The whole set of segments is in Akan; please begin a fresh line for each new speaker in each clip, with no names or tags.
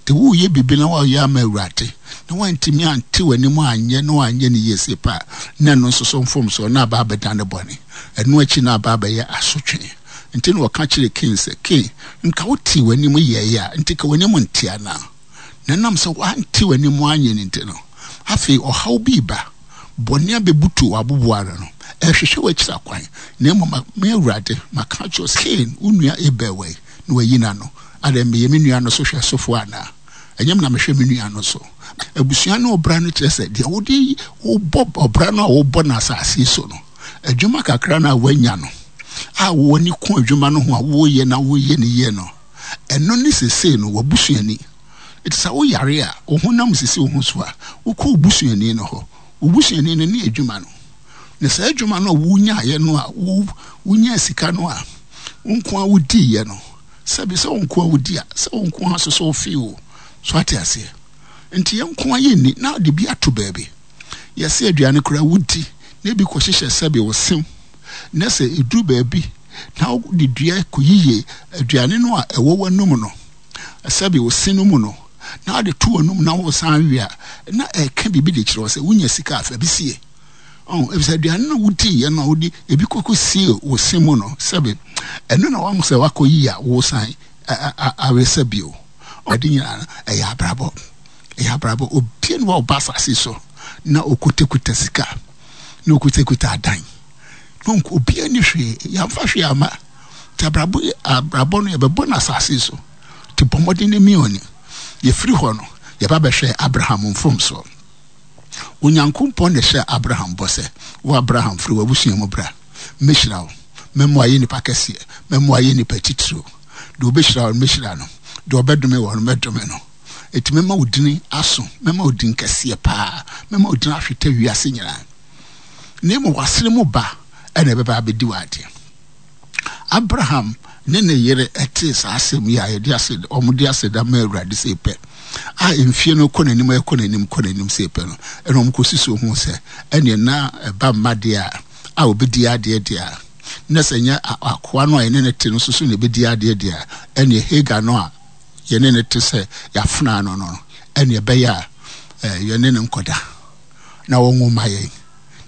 Nti woreyɛ biribi na woayɛ ama Awurade, na woantumi ante w'anim anyɛ na woanyɛ no yie sei pɛ a, na ɛno nso so mfomsoɔ na aba abɛdane bɔne. Ɛno akyi na aba abɛyɛ asotwe. Nti na ɔka kyerɛɛ Kain sɛ, Kain, nka wotee w'anim yɛeɛ a, nti ka w'anim nte anaa? Na ɛnam sɛ woante w'anim anyɛ no nti no, afei ɔhaw bi reba, bɔne abɛbutu w'aboboano no, ɛrehwehwɛ w'akyiri akwan. Na mmom me Awurade, maka akyerɛ wo sɛ, Kain, wo nua Abel wɔ he? Na wayi n'ano. Adɛn, meyɛ me nua no so hwɛsofoɔ anaa? Ɛnyɛ me na mehwɛ me nua no so? Abusua ne ɔbra no kyerɛ sɛ deɛ wode wobɔ ɔbra no a wobɔ no asase yi so no, adwuma kakra no a woanya no, a w'ani ko adwuma no ho a woyɛ na woyɛ no yie no, ɛno ne sesei no w'abusuani. Enti sɛ woyare a, wo honam sisi wo ho so a, wokɔ wo busuani no hɔ. Wo busuani no ne adwuma no. Na saa adwuma no a wonyaeɛ no a wonyaa sika no a wo nko ara wodiiɛ no, sɛbi sɛ wo nko ara wodi a, sɛ wo nko ara nso so wofee o. So ate aseɛ? Nti yɛn nko ara yɛnni na de bi ato baabi. Yɛse aduane koraa wodi na ebi kɔhyehyɛ sɛbi wo sem na sɛ ɛduru baabi na wode dua kɔyiyi aduane no a ɛwɔ w'anum no, sɛbi wo se no mu no, na wode to w'anum na wosan we a, na ɛka biribi de kyerɛ wo sɛ wonya sika a fa bi sie. Ɔho, efisɛ aduane no a wodiiɛ no a wode ebi kɔkɔ sie wo se mu no, sɛbi ɛno na wahu sɛ wakɔyi a wosan awe sɛ bio. Ade nyinaa no, ɛyɛ abrabɔ. Ɛyɛ abrabɔ. Obia ni hɔ a ɔba asase so na okutakuta sika, na okutakuta adan. Na obia ni hwee, yɛamfa hwee ama. Nti abrabɔ yi, abrabɔ no yɛbɛbɔ no asase so. Nti bɔ mmɔden na mia w'ani. Yɛfiri hɔ no, yɛba bɛhwɛ Abraham mfomsoɔ. Onyankopɔn na ɛhyɛɛ Abraham bɔ sɛ, Wo Abraham, firi w'abusua mu bra, mɛhyira wo, mɛma woayɛ nipa kɛseɛ, mɛma woayɛ nipa titiriw. Deɛ ɔbɛhyira wo no, mɛhyira no, deɛ ɔbɛdome wo no, mɛdome no. Enti mɛma wo dini aso, mɛma wo din kɛseɛ paa, mɛma wo din ahwete wiase nyinaa. Na mmom w'asene mu ba na ɛbɛba abɛdi w'adeɛ. Abraham ne ne yere tee saa asɛm yi a yɛde aseda, wɔde aseda ma Awurade sei pɛ, a mfie no kɔ n'anim, ɛkɔ n'anim, kɔ n'anim sei pɛ no, ɛna wɔn kɔsi so ho sɛ, ɛneɛ na ɛba mma deɛ a, a wɔbɛdi adeɛ deɛ a, na sɛ nyɛ akoa no a yɛne no te no nso so na ɛbɛdi adeɛ deɛ a, ɛneɛ Hagar no a yɛne no te sɛ yɛafenaa no no, ɛneɛ ɛbɛyɛ a yɛne no nkɔda na wɔnwo ma yɛn.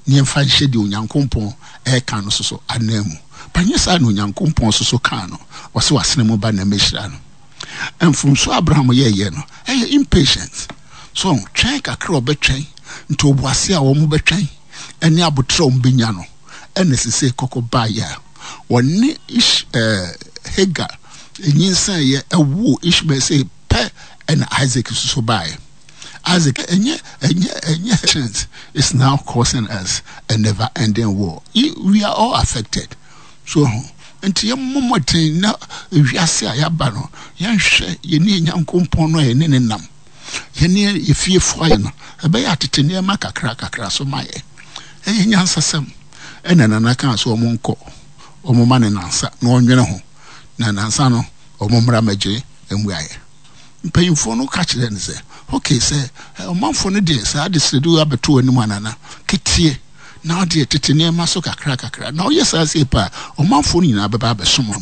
na yɛmfa nhyɛ deɛ Onyankompɔn reka no soso ananmu. But nyɛ saa na Onyankompɔn soso kaa no, ɔse w'asene mu ba na mɛhyira no. Mfomsoɔ a Abraham yɛɛyɛ no, ɛyɛ impatient. So twɛn kakra a ɔbɛtwɛn, ntoboaseɛ a wɔn bɛtwɛn, ɛne aboterɛ a wɔn bɛnya no, ɛna sesei kɔkɔ baeɛ a wɔne Ish, eh, Hagar nyinsɛneeɛ ɛwoo Ishmael sei pɛ ɛna Isaac soso baeɛ. Isaac, ɛnyɛ ɛnyɛ ɛnyɛ chance is now causing us a never ending war. We are all affected. So nti yɛmmɔ mmɔden na wiase a yɛaba no yɛnhwɛ yɛne yɛn Nyankopɔn no a yɛne ne nam yɛne yɛfiefo ayɛ no ɛbɛyɛ atete nneɛma kakra kakra so ma yɛ ɛyɛ nyansasɛm ɛna nana kaa so wɔn nkɔ wɔn ma ne nansa na ɔnwene ho na nansa no wɔn mmra mɛgye mmuaeɛ. Mpanyimfoɔ no ka kyerɛɛ no sɛ, Ok, sɛ ɔmanfoɔ no de saa adesrɛde wei abɛto w'anim a, Nana, keteɛ na wodeɛ tete nneɛma so kakrakakra. Na woyɛ saa sei pɛ a, ɔmanfoɔ no nyinaa bɛba abɛsom wo.